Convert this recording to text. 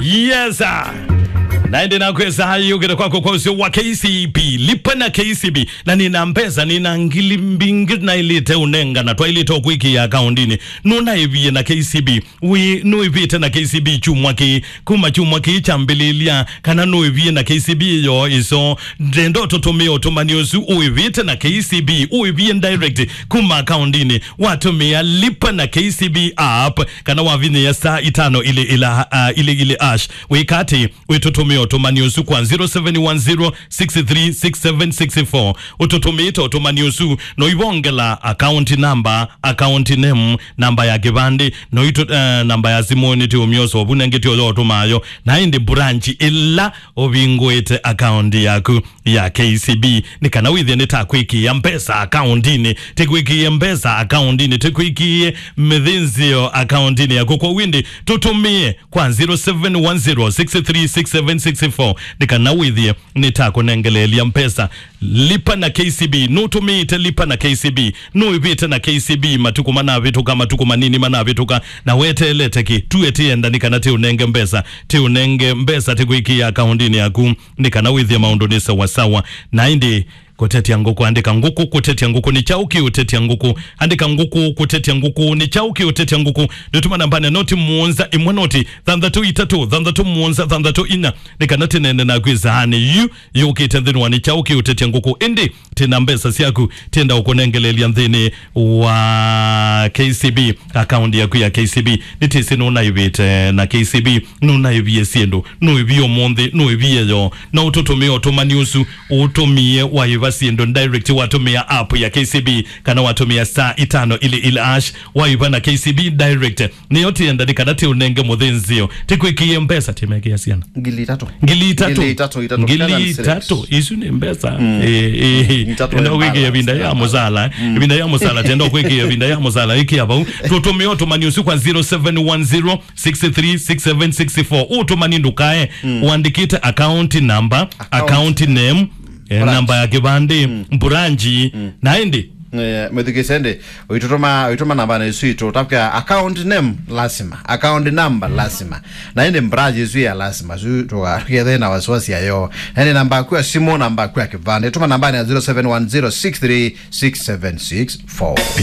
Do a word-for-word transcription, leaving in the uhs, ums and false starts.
Yes, sir. Na ĩndĩ nakwĩsa yũkĩte kwakwa kwa ũseo wa K C B. Lipa na K C B. Na nĩna mbesa, nĩna ngili mbingĩ naĩlĩte ũnengana, twaĩlĩte ũkwĩkĩa akaũndinĩ. Nũnaĩvie na K C B. Wĩ, nũĩvĩte na K C B kyumwa kĩĩ, kuma kyumwa kĩĩ kyambĩlĩlya, kana nũĩvie na K C B ĩyo ĩso? Ndenda ũtũtũmĩe ũtũmani ũsu ũĩvĩte na K C B, ũĩvie direct kuma akaũndinĩ, watũmĩa Lipa na K C B app, kana wavinyĩa star itano ilĩ ila, ah, ilĩ ilĩ hash. Wĩka atĩ, wĩtũtũmĩa ũtũmani ũsu kwa zero seven one zero six three six seven six four. Ũtũtũmĩĩte ũtũmani ũsu, no ivongela account number, account name, namba ya kĩvandĩ, no itũ, eh, namba ya simũ nĩtĩũmyosa ovu nengĩ tĩoyo ũtũmayo, na ĩndĩ branch ĩla ũvingũĩte account yaku ya K C B, nĩ kana wĩthĩe nĩtakwĩkĩĩa mbesa akaũndinĩ, tĩkwĩkĩĩe mbesa akaũndinĩ, tĩkwĩkĩĩe mĩthĩnzĩo akaũndinĩ yaku. Kwoou ĩndĩ tũtũmĩe kwa zero seven one zero six three six seven six four, nĩ kana wĩthĩe nĩtakũnengeleelya mbesa. Lipa na K C B. Nũtũmĩĩte Lipa na K C B? Nũĩvĩte na K C B matukũ manavĩtũka, matukũ manini manavĩtũka, na weteelete kĩ? Tuwe tĩenda nĩ kana tĩũnenge mbesa, tĩũnenge mbesa, tĩkwĩkĩĩa akaũndinĩ yaku, nĩ kana wĩthĩe maũndũ nĩ sawasawa. Na ĩndĩ kũtetya ngũkũ, andĩka ngũkũ kũtetya ngũkũ. Nĩ kyaũ kĩũtetya ngũkũ? Andĩka ngũkũ kũtetya ngũkũ. Nĩ kyaũ kĩũtetya ngũkũ? Nĩtũma nambanĩ noti mũonza ĩmwe noti thanthatũ itatũ thanthatũ mũonza thanthatũ inya, nĩ kana tĩnene naku ĩsaanĩ yu yũkĩte nthĩnĩ wa nĩ kyaũ kĩũtetya ngũkũ. Ĩndĩ tĩna mbesa syaku, tĩenda ũkũnengeleelya nthĩnĩ wa K C B, akaũndi yaku ya K C B. Nĩtĩsĩ nũnaĩvĩte na K C B, nũnaĩvie syĩndũ, nũĩvie ũmũnthĩ, nũĩvie yo. No ũtũtũmĩe ũtũmani ũsu, ũtũmĩe waĩva syĩndũ direct, watũmĩa app ya K C B, kana watũmĩa star itano ilĩ ilĩ hash, waĩva na K C B direct. Nĩyo tĩenda nĩ kana tĩũnenge mũthĩnzĩo, tĩkwĩkĩĩe mbesa, tĩmekĩa syana. Ngili itatũ. Ngili itatũ. Ngili itatũ, itatũ. Ngili itatũ. Isu nĩ mbesa. Mm. Eh, eh. Ngili itatũ. Enda kwĩkĩa ĩvinda ya mũsala. Mm. Ĩvinda ya mũsala, tenda kwĩkĩa ĩvinda ya mũsala. Ĩkĩa vau. Tũtũmĩe ũtũmani ũsu kwa zero seven one zero six three six seven six four. Ũtũmani ndũkae. Mm. Ũandĩkĩte account number, account name, eh, namba ya kĩvandĩ, branch, na ĩndĩ Eh, mwĩthukĩĩsye ĩndĩ, ũitũtũma, ũitũma nambanĩ ĩsu itũ, tapkĩa account name lasima, account number lasima, na ĩndĩ branch ĩsu ya lasima, su tũkethĩe na wasiwasi yayo. Na ĩndĩ namba yaku ya simũ, namba yaku ya kĩvandĩ, tũma nambanĩ ya zero seven one zero six three six seven six four.